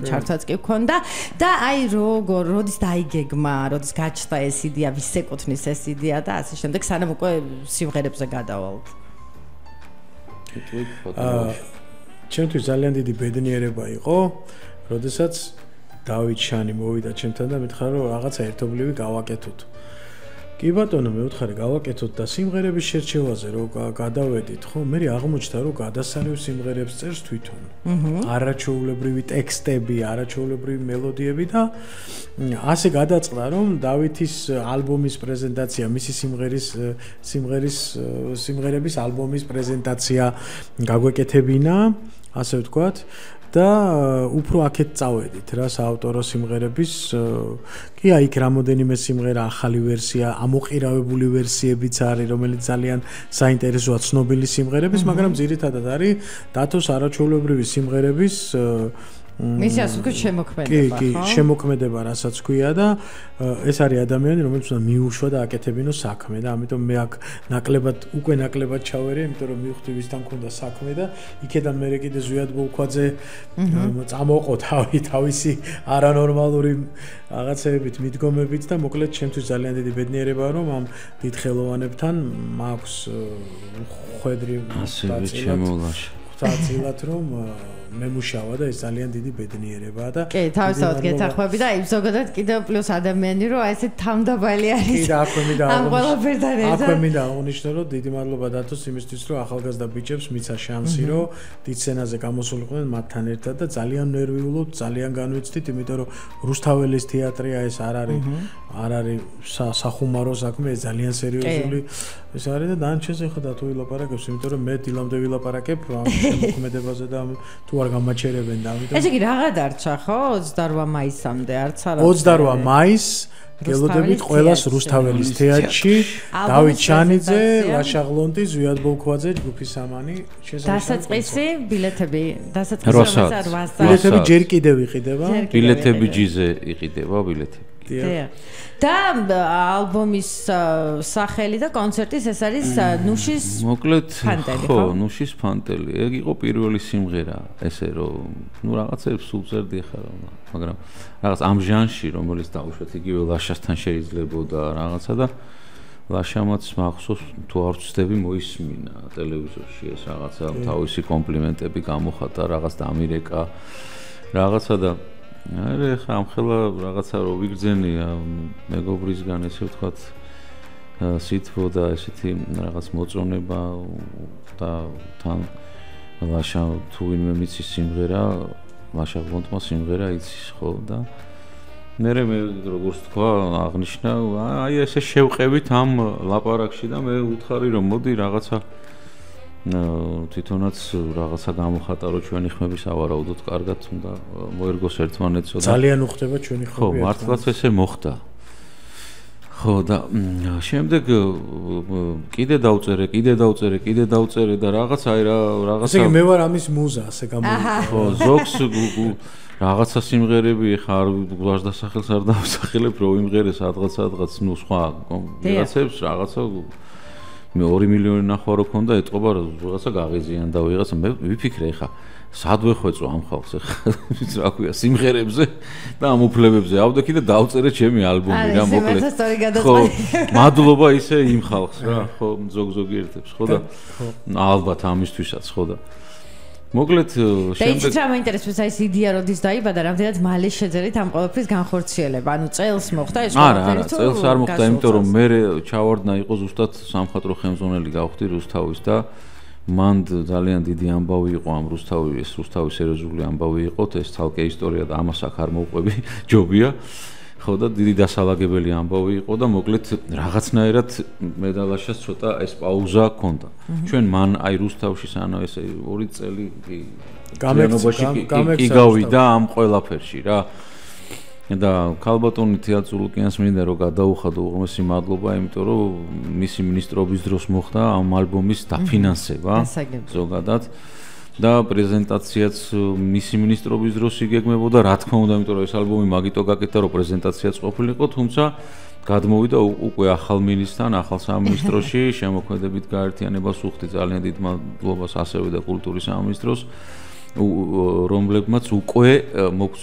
ჩართვაც კი გქონდა და აი როდის დაიგეგმა, როდის გაჩნდა ეს იდეა, ვის ეკუთვნის ეს იდეა და ასე შემდეგ, სანამ უკვე სიმღერებზე გადავალთ. ჩემთვის ძალიან დიდი ბედნიერება იყო, როდესაც დავით შანი მოვიდა ჩემთან და მითხრა რომ რაღაცა ერთობლივი გავაკეთოთ. კი ბატონო, მე ვთხარი გავაკეთოთ და სიმღერების შერჩევაზე რომ გადავედით, ხო, მე აღმოჩნდა რომ გადასარევ სიმღერებს წერს თვითონ. არაჩვეულებრივი ტექსტები, არაჩვეულებრივი მელოდიები და ასე გადაწყდა რომ დავითის ალბომის პრეზენტაცია, მისი სიმღერების ალბომის პრეზენტაცია გაგვეკეთებინა, ასე ვთქვათ. და უფრო აქეთ წავედით რა საავტორო სიმღერების კი აი იქ რამოდენიმე სიმღერა ახალი ვერსია, ამოყირავებული ვერსიებიც არის, რომელიც ძალიან საინტერესოა ცნობილი სიმღერების, მაგრამ ძირითადად არის დათოს არაჩვეულებრივი სიმღერების მისი ასე ვთქვათ შემოქმედება, ხო? კი, შემოქმედება, რასაც ქვია და ეს არის ადამიანი, რომელიც უნდა მიუშვა და აკეთებინო საქმე და ამიტომ მე აქ ნაკლებად ჩავერი, იმიტომ რომ მივხვდი ვისთან მქონდა საქმე და იქედან მე კიდე ზვიად ბოლქვაძე წამოყო თავისი არანორმალური რაღაცეებით, მიდგომებით და მოკლედ ჩემთვის ძალიან დიდი ბედნიერებაა, რომ ამ დიდ ხელოვანებთან მაქვს ხვედრი წილად რომ მემუშავა და ეს ძალიან დიდი ბედნიერებაა და კი, თავისთავად გეთანხმები და აი ზოგადად კიდევ პლუს ადამიანი რომ აი ესე თავდაბალი არის. კი, და აქვე მინდა ამ ყველაფერთან ერთად. აქვე მინდა აღნიშნო რომ დიდი მადლობა დათოს იმისთვის რომ ახალგაზრდა ბიჭებს მიცა შანსი რომ დიდ სცენაზე გამოსულიყვნენ მათთან ერთად და ძალიან ნერვიულობთ, ძალიან განვიცდით, იმიტომ რომ რუსთაველის თეატრია ეს არ არის სახუმარო საქმე, ეს ძალიან სერიოზული ეს არის და დანარჩენზე ხოდა თუ ვილაპარაკებს, იმიტომ რომ მე დილამდე ვილაპარაკებ ამ შემოქმედებაზე და თუ არ გამაჩერებენ და ამიტომ ესე იგი რაღა დარჩა ხო 28 მაისამდე არც არა 28 მაისს გელოდებით ყველას რუსთაველის თეატრში დავით ჩანიძე, ლაშა ღლონტი, ზვიად ბოლქვაძე, ჯგუფი სამანი დასაწყისი ბილეთები ბილეთები ჯერ კიდევ იყიდება ბილეთები ჯიზე იყიდება ბილეთები და ალბომის სახელი და კონცერტის ეს არის ნუშის ფანტელი ხო ნუშის ფანტელი ეგ იყო პირველი სიმღერა ესე რომ ნუ რაღაცებს სულ წერდი ხარ მაგრამ რაღაც ამ ჟანრში რომელიც დაუშვათ იგივე ლაშასთან შეიძლებოდა რაღაცა და ლაშამაც მახსოვს თუ არ ვწდები მოისმინა ტელევიზორში ეს რაღაცა თავისი კომპლიმენტები გამოხატა რაღაც დამირეკა რაღაცა და არა ხა ამხელა რაღაცა რო ვიგრძენი მეგობრისგან ესე ვთქვათ სითბო და ესეთი რაღაც მოწონება და თან ლაშა თუ ვინმე მიცის სიმღერა ლაშა გონტმა სიმღერა იცის ხო და მე როგორც თქვა აღნიშნა აი ესე შევყევით ამ ლაპარაკში და მე ვუთხარი რომ მოდი რაღაცა თვითონაც რაღაცა გამოხატა რომ ჩვენი ხმები სავარაუდოდ კარგად უნდა მოერგოს ერთმანეთსო და ძალიან უხდება ჩვენი ხმები ხო მართლაც ესე მოხდა ხო და შემდეგ კიდე დავწერე და რაღაც აი რაღაცა ესე იგი მე ვარ ამის მუზა ასე გამოიყვება ხო ზოგს რაღაცა სიმღერები ხარ გულაშ დასახელს არ დავსახელებ რომ იმღერეს რაღაც ნუ სხვა ვიღაცებს რაღაცა მე 2 მილიონი ნახვა რო ქონდა ეტყობა რაღაცა გაღიზიან და ვიღაცა მე ვიფიქრე ხა სად ვეხვეწო ამ ხალხს ხა რა ქვია სიმღერებზე და ამ უფლებებზე ავდექი და დავწერე ჩემი ალბომი რა მოკლედ ხო მადლობა ისე იმ ხალხს რა ხო ზოგიერთებს ხო და ალბათ ამისთვისაც ხო და მოკლედ შემდეგ რა მაინტერესებს აი ეს იდეა როდის დაიბადა რამდენად მალე შეძერით ამ ყოველფრის განხორციელება ანუ წელს მოხდა ეს ყველაფერი თუ არა წელს არ მოხდა იმიტომ რომ მე ჩავარდნა იყო ზუსტად სამხატვრო ხელმძღვანელი გავხდი რუსთავის და მან ძალიან დიდი ამბავი იყო ამ რუსთავის სერიოზული ამბავი იყო ეს თალკე ისტორია და ამას აქ არ მოვყვები ჯობია ხო და დიდი დასალაგებელი ამბავი იყო და მოკლედ რაღაცნაირად მე და ლაშას ცოტა ეს პაუზა ჰქონდა ჩვენ მან აი რუსთავში სანამ ესე 2 წელი კი გავიდა ამ ყველაფერში რა და ქალბატონი თეატრულკიანს მინდა რომ გადაუხადო უღმესი მადლობა იმიტომ რომ მისი მინისტრობის დროს მოხდა ამ ალბომის დაფინანსება ზოგადად და პრეზენტაციაც მისი მინისტრობის დროს იგეგმებოდა რა თქმა უნდა იმიტომ რომ ეს ალბომი მაგიტო გაკეთდა რომ პრეზენტაციაც ყოფილიყო თუმცა გადმოვიდა უკვე ახალ მინისტრთან ახალ სამინისტროში შემოქმედებით გაერთიანებას უხდი ძალიან დიდ მადლობას ასევე და კულტურის სამინისტროს რომლებმაც უკვე მოგვცეს